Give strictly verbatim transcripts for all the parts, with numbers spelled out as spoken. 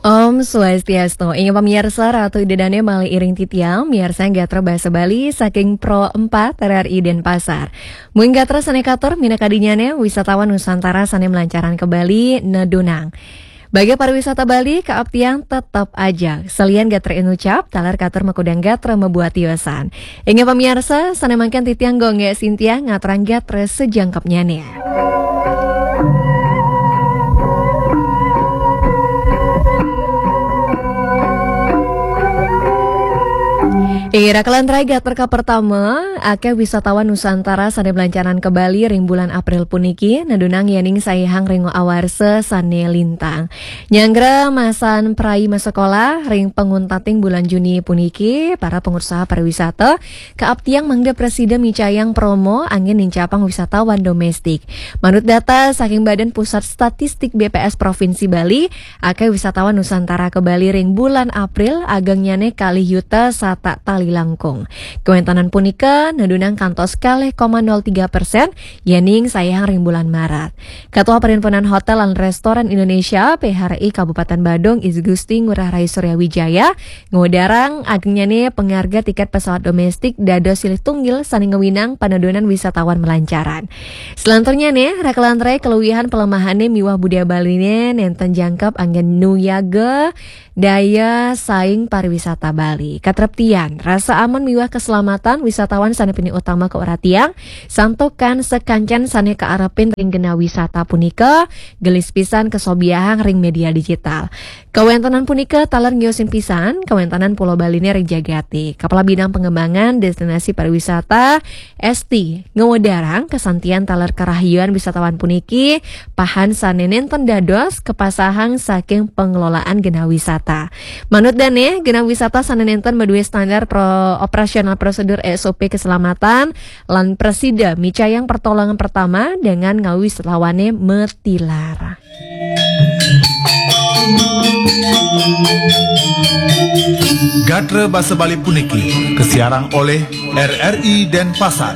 Om Swastiastu. Inggih pamiarsa, Ratu Ida Dané malih iring titiang miarsa gatra basa Bali saking Pro empat R R I Denpasar. Mungkin gatra sané katur minakadinyané wisatawan Nusantara sané malancaran ka Bali nedunang. Bagi pariwisata Bali, kaaptiang tetep aja. Salian gatra inucap, taler katur makudang gatra mabuat tiosan. Inggih pamiarsa, sané mangkin titiang Gung Gék Sintia ngaturang gatra sajangkepnyané. Inggih, raka lan rai, gatra kapertama, akéh wisatawan Nusantara sané malancaran ka Bali ring bulan April puniki, nedunang yéning saihang ring awarsa sané lintang. Nyanggra masan prai masekolah ring panguntating bulan Juni puniki, para pangusaha pariwisata kaaptiang mangda prasida micayang promo anggén nincapang wisatawan domestik. Manut data saking Badan Pusat Statistik B P S Provinsi Bali, akéh wisatawan Nusantara ka Bali ring bulan April agengnyané kalih yuta satak tali langkung. Kawéntenan punika nedunang kantos kalih koma nol tiga persen yéning saihang ring bulan Maret. Ketua Perhimpunan Hotel lan Restoran Indonesia, P H R I, Kabupaten Badung, I Gusti Ngurah Rai Surya Wijaya, ngudarang agengnyané pangarga tiket pesawat domestik dados silih tunggil sané ngawinang panedunan wisatawan malancaran. Selanturnyané, raka lan rai, kaluihan palemahané miwah budaya Baliné nénten jangkep anggén nuyaga daya saing pariwisata Bali. Katreptian, rasa aman miwah keselamatan wisatawan sané pinih utama kauratiang, santukan sakancan sané kaarepin ring genah wisata punika, gelis pisan kasobiahang ring média digital. Kawéntenan punika taler ngiusin pisan kawéntenan Pulo Baliné ring jagaté. Kepala Bidang Pengembangan Destinasi Pariwisata, Esti, ngwedarang kasantian taler karahayuan wisatawan puniki, pahan sané nénten dados kapasahang saking pengelolaan genah wisata. Manut dané, genah wisata sané nénten madué standar pro-, operasional prosedur S O P keselamatan lan prasida micayang pertolongan pertama dengan ngawi wisatawané matilar. Gatra basa Bali puniki kasiarang olih R R I Denpasar.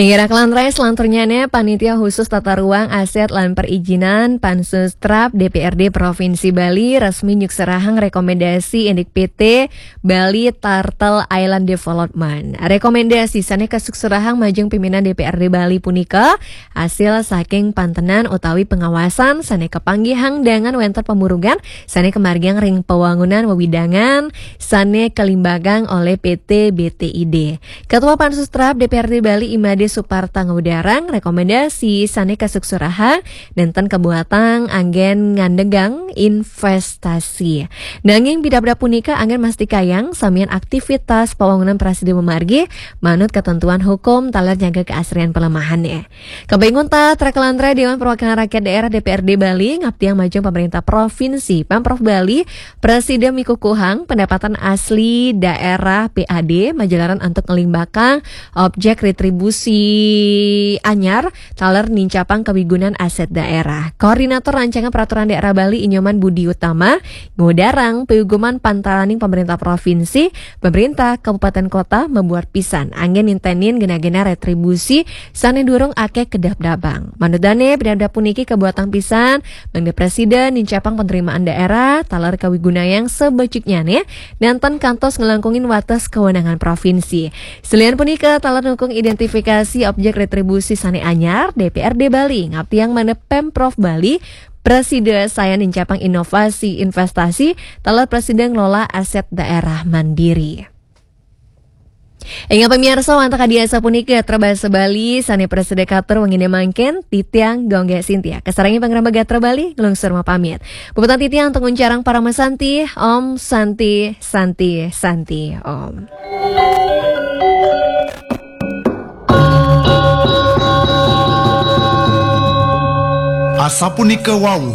Inggih, raka lan rai, selanturnyané Panitia Khusus Tata Ruang, Aset lan Perizinan, Pansus Trap, D P R D Provinsi Bali resmi nyukserahang rekomendasi indik P T Bali Turtle Island Development. Rekomendasi sané kasukserahang majeng pimpinan D P R D Bali punika asil saking pantenan utawi pengawasan sané kapanggihang dengan wénten pamurungan sané kamargiang ring pawangunan wewidangan sané kalimbagang olih P T B T I D. Ketua Pansus Trap D P R D Bali, I Made Suparta, ngudarang rekomendasi sané kasukserahang nénten kabuatang anggén ngandegang investasi. Nanging pidabdab punika anggén mastikayang samian aktivitas pawangunan prasida mamargi manut ketentuan hukum taler nyaga keasrian palemahané. Kembali nguntat, raka lan rai, Dewan Perwakilan Rakyat Daerah D P R D Bali ngaptiang majeng pemerintah provinsi, Pemprov Bali, prasida mikukuhang pendapatan asli daerah P A D majalaran antuk nglimbakang objek retribusi anyar taler nincapang kawigunan aset daerah. Koordinator Rancangan Peraturan Daerah Bali, I Nyoman Budi Utama, ngudarang piuguman pantaraning pemerintah provinsi, pemerintah kabupaten kota mabuat pisan anggén nintenin genah-genah retribusi sané durung akéh kadabdabang. Manut dané, pidabdab puniki kabuatang pisan mangda prasida nincapang penerimaan daerah taler kawigunayang sabeciknyané nénten kantos nglangkungin wates kawenangan provinsi. Salian punika, taler nukung identifikasi objek retribusi sané anyar, D P R D Bali ngaptiang mangda Pemprov Bali prasida sayan nincapang inovasi investasi taler prasida ngelola aset daerah mandiri. Inggih pamiarsa, wantah kadi asapunika gatra basa Bali sané prasida katur wenginé mangkin, titiang Gung Gék Sintia. Kasarengin pangrembag gatra Bali, nglungsur mapamit. Puputang titiang antuk nguncarang parama santi, Om Santi, Santi, Santi, Om. Asapunika wau